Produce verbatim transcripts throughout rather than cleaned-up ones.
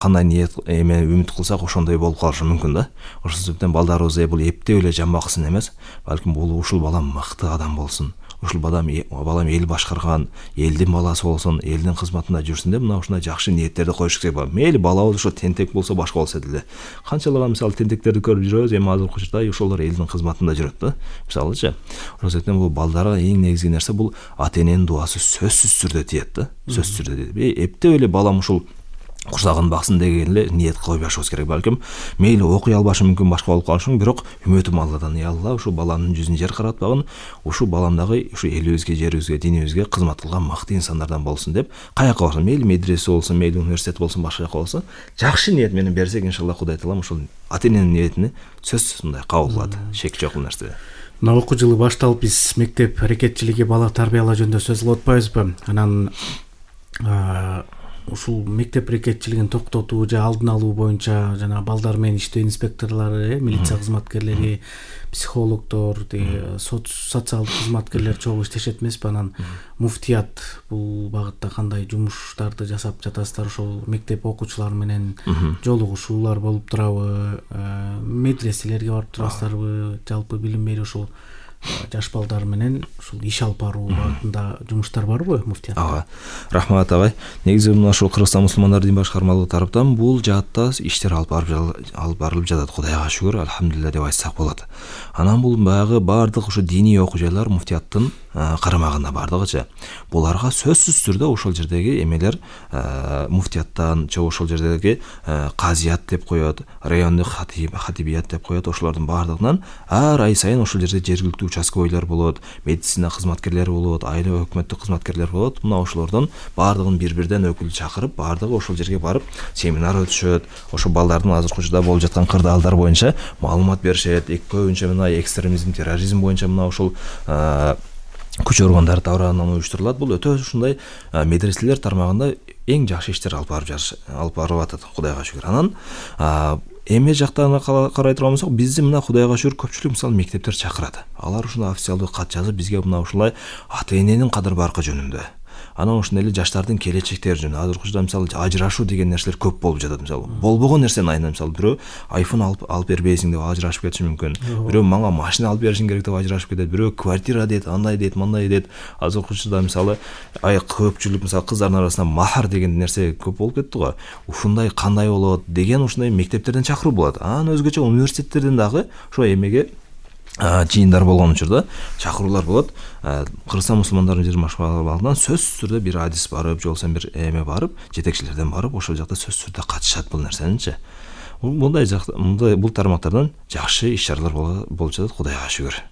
кандай ниет эме үмүт кылсак ошондой болуп калышы мүмкүн да. Ошол себептен балдарыбыз бул эптеп эле жамбаксын эмес, балким бул ушул балам мыкты адам болсун. Ушул балам балам эл башкарган, элдин баласы болсун, элдин кызматында жүрсүн деп мына ушундай жакшы ниеттерди коюш керек болот. Мейли балабыз ошо тентек болсо башка болсо деле. Канчалаган мисалы тентектерди көрүп жүрөбүз, эми азыркы учурда ошолор элдин кызматында жүрөт да. Мисалычы, ошол себептен бул балдарга эң негизги нерсе бул ата эненин дуасы сөзсүз түрдө тиет да. Сөзсүз түрдө тиет. Эптеп эле балам ушул курсагын баксын деген эле ниет койбашыбыз керек. Балким мейли окуй албашы мүмкүн, башка болуп калышы мүмкүн, бирок үмүтүм Алладан, я Алла, ушу баламдын жүзүн жер каратпагын, ушу балам дагы ушу элибизге, жерибизге, динибизге кызмат кылган мыкты инсандардан болсун деп, каяка болсун, мейли медресе болсун, мейли университет болсун, башка жака болсун, жакшы ниет менен берсек, иншалла Кудай таалам ушул ата эненин ниетини сөзсүз мындай кабыл кылат. Шек жок бул нерседе. Мына окуу жылы башталып, биз мектеп аракетчилиги, бала тарбиялоо жөнүндө сөз кылып атпайбызбы? Анан ушул мектеп аракетчилигин токтотуу же алдын алуу боюнча жана балдар менен иштөө инспекторлору, милиция кызматкерлери, психологдор, социалдык кызматкерлер чогуу иштешет эмеспи? Анан муфтият бул багытта кандай жумуштарды жасап жатасыздар? Ошол мектеп окуучулары менен жолугушуулар болуп турабы? Медреселерге барып турасыздарбы? Жалпы билим берүү ушул жаш балдар менен ушул иш алып баруу багытында жумуштар барбы муфтият? Ага. Рахмат агай. Негизи мына ушул Кыргызстан мусулмандар дин башкармалыгы тараптан бул жаатта иштер алып алып барылып жатат. Кудайга шүгүр, альхамдулилля деп айтсак болот. Анан бул баягы бардык ушу диний окуу жайлар муфтияттын карамагында бардыгычы. Буларга сөзсүз түрдө ошол жердеги эмелер муфтияттан, же ошол жердеги казият деп коет, райондук хатибият деп коет, ошолордун бардыгынан ар ай сайын ошол жерде жергиликтүү участковыйлар болот, медицина кызматкерлери болот, айыл өкмөттүк кызматкерлер болот. Мына ошолордон бардыгын бир-бирден өкүл чакырып, бардыгы ошол жерге барып семинар өтүшөт. Ошо балдардын азыркы учурда болуп жаткан кырдаалдар боюнча маалымат беришет. Көбүнчө мына экстремизм, терроризм боюнча мына ошол күч органдары тарабынан уюштурулат. Бул өтө ушундай медреселер тармагында эң жакшы иштер алып барып алып барып атат. Кудайга шүгүр. Анан эме жактан карай турган болсок, бизди мына Кудайга шүгүр көпчүлүк мисалы мектептер чакырат. Алар ушундай официалдуу кат жазып бизге мына ушулай ата эненин кадыр баркы жөнүндө, анан ошондой эле жаштардын келечектери жөнүндө, азыркы учурда мисалы ажырашуу деген нерселер көп болуп жатат. Мисалы болбогон нерсени айынан, мисалы бирөө айфон алып алып бербейсиң деп ажырашып кетиши мүмкүн. Бирөө мага машина алып беришиң керек деп ажырашып кетет. Бирөө квартира дейт, андай дейт, мындай дейт. Азыркы учурда мисалы ай көпчүлүк мисалы кыздардын арасында махар деген нерсе көп болуп кетти го. Ушундай кандай болот деген ушундай мектептерден чакыруу болот. Анан өзгөчө университеттерден дагы ошо эмеге жыйындар болгон учурда чакыруулар болот. Кыргызстан мусулмандардын дин башкармалыгынан сөзсүз түрдө бир адис барып, жолсо бир эме барып, жетекчилерден барып, ошол жакта сөзсүз түрдө катышат бул нерсеничи. Мындай мындай бул тармактардан жакшы иш-чаралар болуп жатат, Кудайга шүгүр.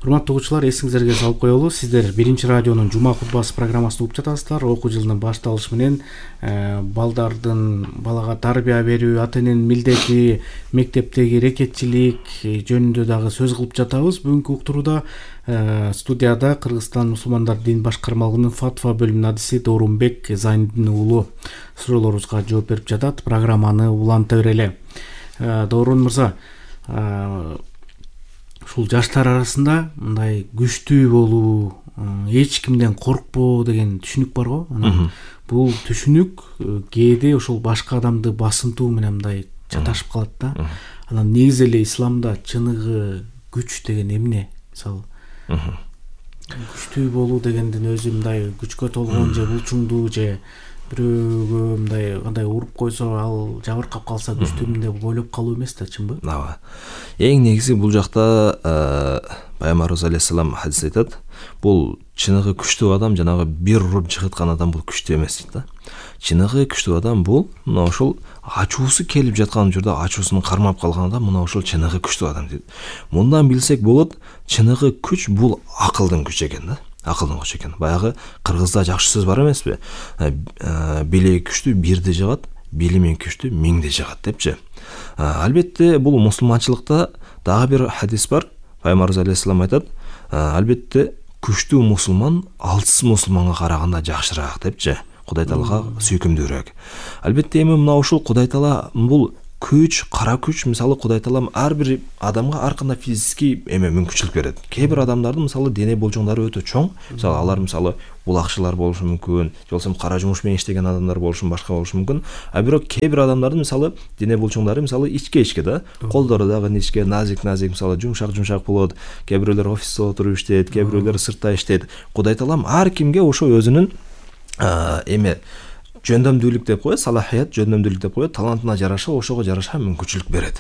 Урматтуу окуучулар, эсиңиздерге салып коелу, сиздер биринчи радионун жума кутбасы программасын угуп жатасыздар. Окуу жылынын башталышы менен балдардын балага тарбия берүү, ата эненин милдети, мектептеги аракетчилик жөнүндө дагы сөз кылып жатабыз. Бүгүнкү уктурууда студияда Кыргызстан мусулмандар дин башкармалыгынын фатва бөлүмүнүн адиси Доорунбек Зайниддин уулу суроолорубузга жооп берип жатат. Программаны уланта берели. Доорун мырза, ушул жаштар арасында мындай күчтүү болуу, эч кимден коркпоо деген түшүнүк бар го. Анан бул түшүнүк кээде ошол башка адамды басынтуу менен мындай чаташып калат да. Анан негизи эле исламда чыныгы күч деген эмне? Мисалы күчтүү болуу дегендин өзү мындай күчкө толгон же булчуңдуу же бирөөгө мындай кандай уруп койсо ал жабыркап калса күчтүүмүн деп ойлоп калуу эмес да, чынбы? Ооба. Эң негизи бул жакта Пайгамбарыбыз алейхиссалам хадис айтат. Бул чыныгы күчтүү адам жанагы бир уруп жыгыткан адам бул күчтүү эмес дейт да. Чыныгы күчтүү адам бул мына ошол ачуусу келип жаткан учурда ачуусун кармап калган адам мына ошол чыныгы күчтүү адам дейт. Мындан билсек болот, чыныгы күч бул акылдын күчү экен да. Акылдын күчү экен. Баягы кыргызда жакшы сөз бар эмеспи? Билеги күчтүү бирди жыгат, билими күчтүү миңди жыгат депчи. Албетте бул мусулманчылыкта дагы бир хадис бар. Пайгамбарыбыз алейхиссалам айтат, албетте күчтүү мусулман алсыз мусулманга караганда жакшыраак депчи. Кудай Таалага сүйкүмдүүрөөк. Албетте эми мына ушул Кудай Таала бул күч, кара күч мисалы Кудай Таалам ар бир адамга ар кандай физический эме мүмкүнчүлүк берет. Кээ бир адамдардын мисалы дене болжоңдору өтө чоң. Мисалы алар мисалы булакчылар болушу мүмкүн, же болбосо кара жумуш менен иштеген адамдар болушу, башка болушу мүмкүн. А бирок кээ бир адамдардын мисалы дене болжоңдору мисалы ичке-ичке да, колдору дагы ичке, назик-назик, мисалы жумшак-жумшак болот. Кээ бирөөлөр офисте отуруп иштейт, кээ бирөөлөр сыртта иштейт. Кудай Таалам ар кимге ошо өзүнүн эме жөндөмдүүлүк деп коет, салахият, жөндөмдүүлүк деп коет, талантына жараша ошого жараша мүмкүнчүлүк берет.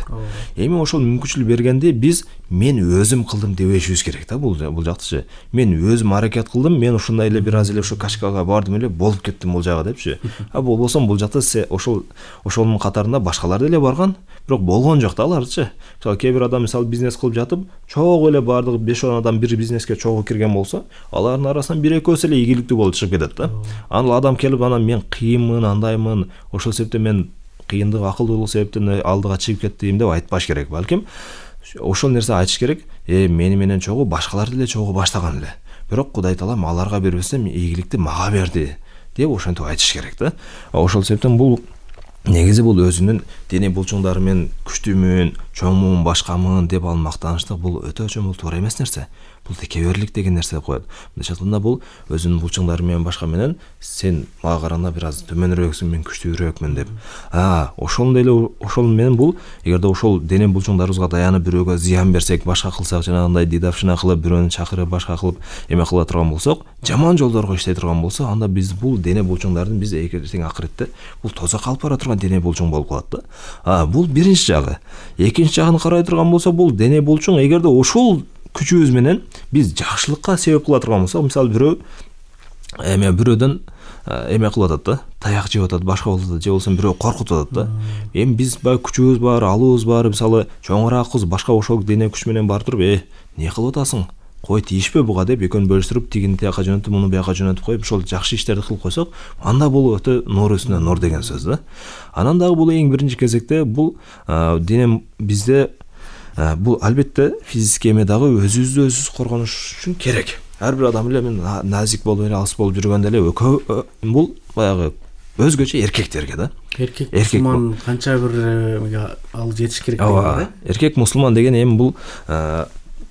Эми ошол мүмкүнчүлүк бергенде биз мен өзүм кылдым дебешибиз керек да, бул бул жактычы. Мен өзүм аракет кылдым, мен ушундай эле бир аз эле ошо качкага бардым эле, болуп кеттим бул жагы депчи. А болбосо бул жакта ошол ошонун катарында башкалар деле барган, бирок болгон жок да аларчы. Мисалы кээ бир адам мисалы бизнес кылып жатып, чогуу эле бардыгы беш он адам бир бизнеске чогуу кирген болсо, алардын арасынан бир экөөсү эле ийгиликтүү болуп чыгып кетет да. Анан адам келип анан мен кыйынмын, андаймын, ошол себептен мен кыйындык акылдуулук себептен алдыга чыгып кеттим деп айтпаш керек. Балким ошол нерсе айтыш керек. Э мени менен чогуу башкалар деле чогуу баштаган эле. Бирок Кудай Таалам аларга бербестен ийгиликти мага берди деп ошентип айтыш керек да. Ошол себептен бул негизи бул өзүнүн дене болжоңдору менен күчтүүмүн, чоңмун, башкамын деп ал мактаныштык бул өтө чоң туура эмес нерсе. Бул текеберлик деген нерсе деп коет. Мындайча айтканда бул өзүнүн булчуңдары менен башка менен сен мага караганда бир аз төмөнүрөөксүң, мен күчтүүрөөкмүн деп. А, ошол деле ошол менен бул эгерде ошол дене булчуңдарыбызга таянып бирөөгө зыян берсек, башка кылсак, жанагындай дидавшина кылып, бирөөнү чакырып, башка кылып эме кыла турган болсок, жаман жолдорго иштей турган болсо, анда биз бул дене булчуңдардын биз эртең акыретте бул тозак алып бара турган дене булчуң болуп калат да. А, бул биринчи жагы. Экинчи жагын карай турган болсо, бул дене булчуң эгерде ошол күчүбүз менен биз жакшылыкка себеп кыла турган болсок, мисалы бирөө эме бирөөдөн эме кылып атат да, таяк жеп атат, башка болуп атат, же болбосо бирөө коркутуп атат да. Эми биз баягы күчүбүз бар, алыбыз бар, мисалы чоңураакбыз, башка ошол дене күч менен барып туруп, э, эмне кылып атасың? Кой тийишпе буга деп экөөнү бөлүштүрүп, тигини тияка жөнөтүп, муну бияка жөнөтүп коюп, ошол жакшы иштерди кылып койсок, анда бул өтө нур үстүнө нур деген сөз да. Анан дагы бул эң биринчи кезекте бул дене бизде бул албетте физический эме дагы өзүбүздү өзүбүз коргонуш үчүн керек. Ар бир адам эле мен назик болуп эле, алыс болуп жүргөндө эле бул баягы өзгөчө эркектерге да. Эркек мусулман канча бир ал жетиш керек деген да. Эркек мусулман деген эми бул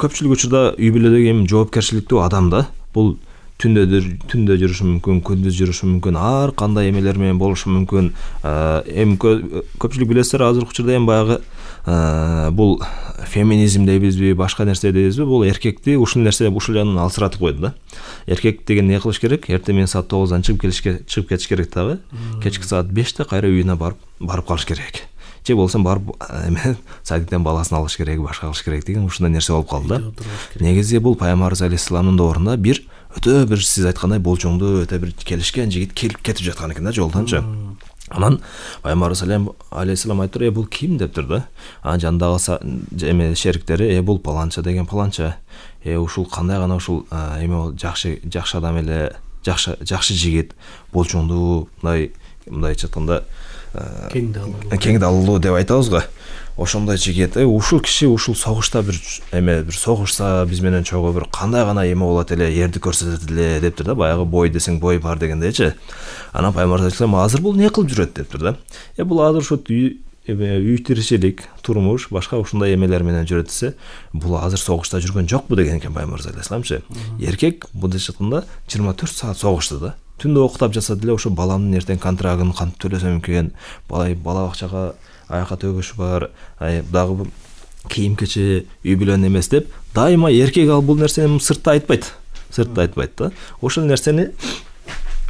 көпчүлүк учурда үй бүлөдөгү эми жоопкерчиликтүү адам да. Бул түндө түндө жүрүшү мүмкүн, күндүз жүрүшү мүмкүн, ар кандай эмелер менен болушу мүмкүн. Эми көпчүлүк билесиздер, азыркы учурда эми баягы бул феминизм дейбизби, башка нерсе дейбизби, бул эркекти ушул нерсе ушул жагынан алсыратып койду да. Эркек деген не кылыш керек? Эртең менен саат тогуздан чыгып келишке чыгып кетиш керек дагы. Кечки саат беште кайра үйүнө барып барып калыш керек. Же болсо барып эме садиктен баласын алыш керек, башка кылыш керек деген ушундай нерсе болуп калды да. Негизи бул Пайгамбарыбыз алейхисаламдын доорунда бир өтө бир сиз айткандай болжоңдуу, өтө бир келишкен жигит келип кетип жаткан экен да жолдончу. Анан Пайгамбарыбыз алейхисалам айтыр, э бул ким дептир да. Анан жандагы эме шериктери, э бул паланча деген паланча. Э ушул кандай гана ушул эме жакшы жакшы адам эле, жакшы жакшы жигит, болжоңдуу, мындай мындайча айтканда кең далылуу. Кең далылуу деп айтабыз го. Ошондой жигит, э ушул киши ушул согушта бир эме бир согушса биз менен чогуу бир кандай гана эме болот эле, эрди көрсөтөт эле дептир да. Баягы бой десең бой бар дегендейчи. Анан Пайгамбар айтсам, азыр бул не кылып жүрөт дептир да. Э бул азыр ушу эме үй тиричилик, турмуш, башка ушундай эмелер менен жүрөт десе, бул азыр согушта жүргөн жокпу деген экен Пайгамбар алейхисаламчы. Эркек мындайча айтканда жыйырма төрт саат согушта да. Түндө октап жатса деле ошо баламдын эртең контрагын кантип төлөсөм экен, бала бала бакчага аяка төгүш бар, дагы кийим кече үй бүлөнү эмес деп, дайыма эркек ал бул нерсени сыртта айтпайт. Сыртта айтпайт да. Ошол нерсени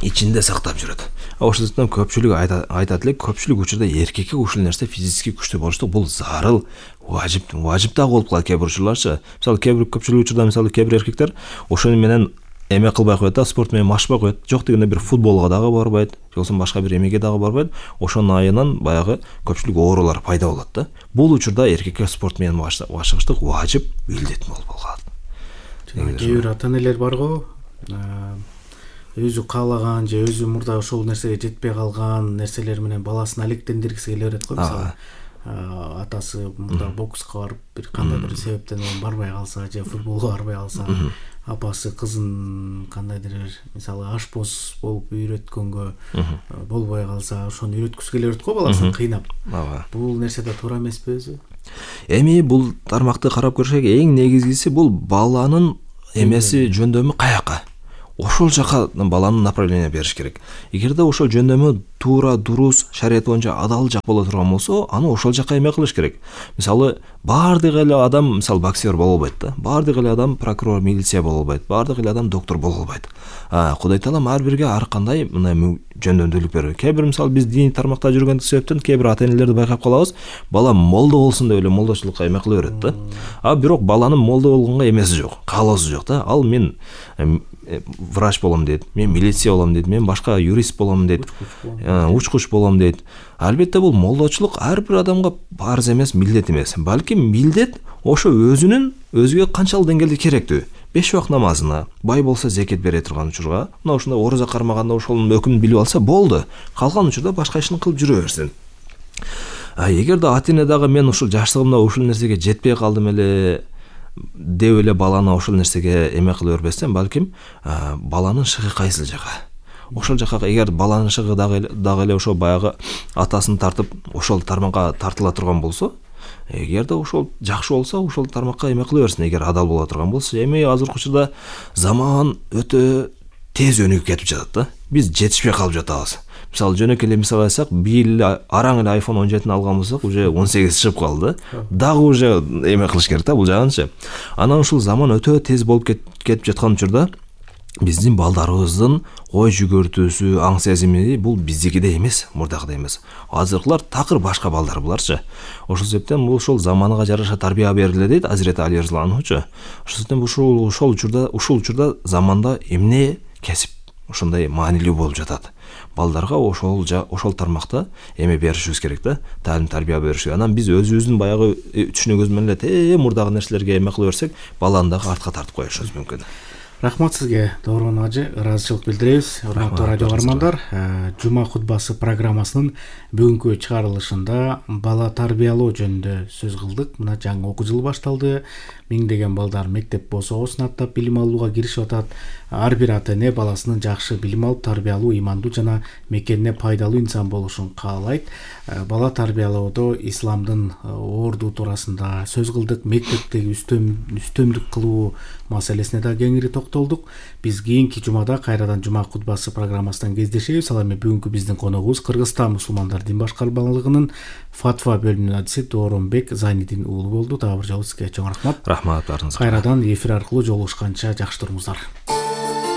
ичинде сактап жүрөт. Ошол себептен көпчүлүк айтат эле, көпчүлүк учурда эркекке ушул нерсе физически күчтүү болуштук бул зарыл, важип, важип да болуп калат кээ бир учурларчы. Мисалы кээ бир көпчүлүк учурда мисалы кээ бир эркектер ошону менен эме кылбай коет да, спорт менен машпай коет. Жок дегенде бир футболго дагы барбайт, же болбосо башка бир эмеге дагы барбайт. Ошонун айынан баягы көпчүлүк оорулар пайда болот да. Бул учурда эркекке спорт менен машыгыштык важип, милдет болуп калат. Кээ бир ата-энелер бар го, өзү каалаган же өзү мурда ошол нерсеге жетпей калган нерселер менен баласын алектендиргиси келе берет го. Мисалы атасы мурда бокска барып бир кандай бир себептен барбай калса же футболго барбай калса, апасы кызын кандайдыр бир мисалы ашпоз болуп үйрөткөнгө болбой калса ошону үйрөткүсү келе берет го баласын кыйнап. Бул нерсе да туура эмеспи өзү? Эми бул тармакты карап көрсөк, эң негизгиси бул баланын эмеси жөндөмү каяка. Ошол жака баланын направление бериш керек. Эгерде ошол жөндөмү туура, дурус, шарият боюнча адал жак боло турган болсо, аны ошол жака эме кылыш керек. Мисалы, баардык эле адам мисалы боксер боло албайт да. Баардык эле адам прокурор, милиция боло албайт. Баардык эле адам доктор боло албайт. А, Кудай Таалам ар бирге ар кандай мындай жөндөмдүүлүк берет. Кээ бир мисалы биз диний тармакта жүргөндүк себептен кээ бир ата-энелерди байкап калабыз, бала молдо болсун деп эле молдочулукка эме кыла берет да. А бирок баланын молдо болгонго эмеси жок, каалоосу жок да. Ал мен врач болом дейт, мен милиция болом дейт, мен башка юрист болом дейт, учкуч болом дейт. Албетте бул молдочулук ар бир адамга парыз эмес, милдет эмес. Балким милдет ошо өзүнүн өзүгө канчалык деңгээлде керектүү. Беш убак намазына, бай болсо зекет бере турган учурга, мына ушундай ораза кармаганда ошонун өкүмүн билип алса болду. Калган учурда башка ишин кылып жүрө берсин. А эгерде ата-эне дагы мен ушул жаштыгымда ушул нерсеге жетпей калдым эле деп эле баланы ошол нерсеге эме кыла бербестен, балким баланын шыгы кайсыл жака. Ошол жака эгер баланын шыгы дагы дагы эле ошо баягы атасын тартып ошол тармакка тартыла турган болсо, эгерде ошол жакшы болсо, ошол тармакка эме кыла берсин, эгер адал боло турган болсо. Эми азыркы учурда заман өтө тез өнүгүп кетип жатат да. Биз жетишпей калып жатабыз. Мисалы жөнөкөй эле мисал айтсак, бир эл араң эле айфон он жетини алган болсок, уже он сегиз чыгып калды. Дагы уже эме кылыш керек да бул жагынчы. Анан ушул заман өтө тез болуп кетип жаткан учурда биздин балдарыбыздын ой жүгөртүүсү, аң сезими бул биздикидей эмес, мурдагыдай эмес. Азыркылар такыр башка балдар буларчы. Ошол себептен бул ошол заманга жараша тарбия бериле дейт Азирети Али разияллаху. Ошол себептен ушул ошол учурда ушул учурда заманда эмне кесип ошондой маанилүү болуп жатат. Балдарга ошол ошол тармакта эме беришибиз керек да, таалим тарбия бериш. Анан биз өзүбүздүн баягы түшүнүгүбүз менен эле мурдагы нерселерге эме кыла берсек, баланы дагы артка тартып коюшубуз мүмкүн. Рахмат сизге, Доорон ажы, ыраазычылык билдиребиз. Урматтуу радио каармандар, Жума кутбасы программасынын бүгүнкү чыгарылышында бала тарбиялоо жөнүндө сөз кылдык. Мына жаңы окуу жылы башталды. Миңдеген балдар мектеп босоосун аттап билим алууга киришип атат. Ар бир ата-эне баласынын жакшы билим алып, тарбиялуу, имандуу жана мекенине пайдалуу инсан болушун каалайт. Бала тарбиялоодо исламдын орду туурасында сөз кылдык. Мектептеги үстөмдүк кылуу маселесине да кеңири токтолдук. Биз кийинки жумада кайрадан Жума кутбасы программасынан кездешебиз. Ал эми бүгүнкү биздин коногубуз Кыргызстан мусулмандар дин башкармалыгынын фатва бөлүмүнүн адиси Дооронбек Зайнидин уулу болду. Дагы бир жолу сизге чоң рахмат. Рахмат, барыңызга. Кайрадан эфир аркылуу жолугушканча жакшы туруңуздар.